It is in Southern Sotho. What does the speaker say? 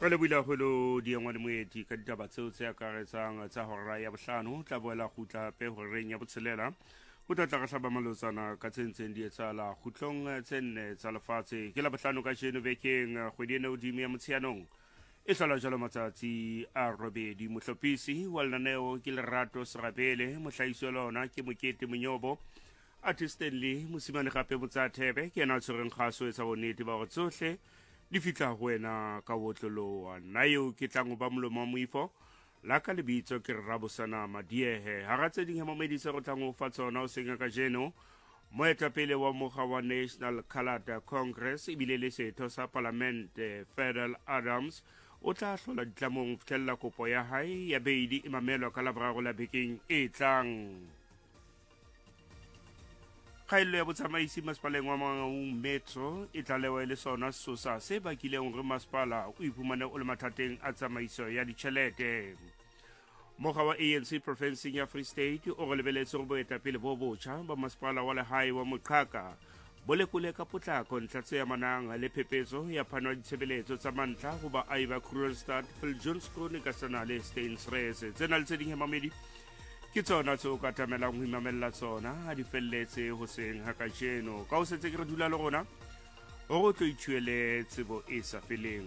Re lebohile haholo Diengwa le Moeti ka ditaba tseo tse akaretsang tsa hora ya bohlano. Tla boela kgutla hape horeng ya botshelela ho tla tla re hlaba malotsana ka tse ntseng di etsahala kgutlong tse nne tsa lefatshe. Ke la bohlano kajeno bekeng kgwedi ena hodimo ya Motsheanong e hlola jalo matsatsi a robedi. Mohlophisi wa lenaneo ke Lerato Serabele, mohlahisi wa lona ke Mokete Monyobo. Athe Stanley Mosimane gape Motsathebe ke yena a tshwereng kgaso etsa bonnete ba gore tsohle di fihla go wena ka botloloa. Nna eo ke tlang go ba molomo wa moifo la ka lebitso ke re Rabosana Madiehe. Hara tse ding hemamedi tse re tlang go fa tsona o seng kajeno, moetapele wa mokga wa National Coloured Congress ebile le setho sa palamente Ferdal Adams o tla hlola ditlamong ho fihlella kopo ya hae ya beili e mamelwa ka Laboraro la bekeng e tlang. Kgaello ya botsamaisi masepaleng wa Mangaung Metro e tlalewa e le sona sesosa se bakileng hore masepala o iphumane o le mathateng a tsamaiso ya ditjhelete. Mokga wa ANC profenseng ya Free State o re lebeletse gore boetapele bo botjha ba masepala wa lehae wa Moqhaka bo lekole ka potlako ntlha tse amanang le phepetso ya phano ya ditshebeletso tsa mantlha ho baahi ba Kroonstad, Viljoenskroon ka sana le Steynsrus. Tsena le tse ding hemamedi ke tsona tse o ka tlamelang ho imamella tsona ha di felletse hoseng ha kajeno. Ka ho setse ke re dula le rona hore o tlo ithuele tsebo e sa feleng.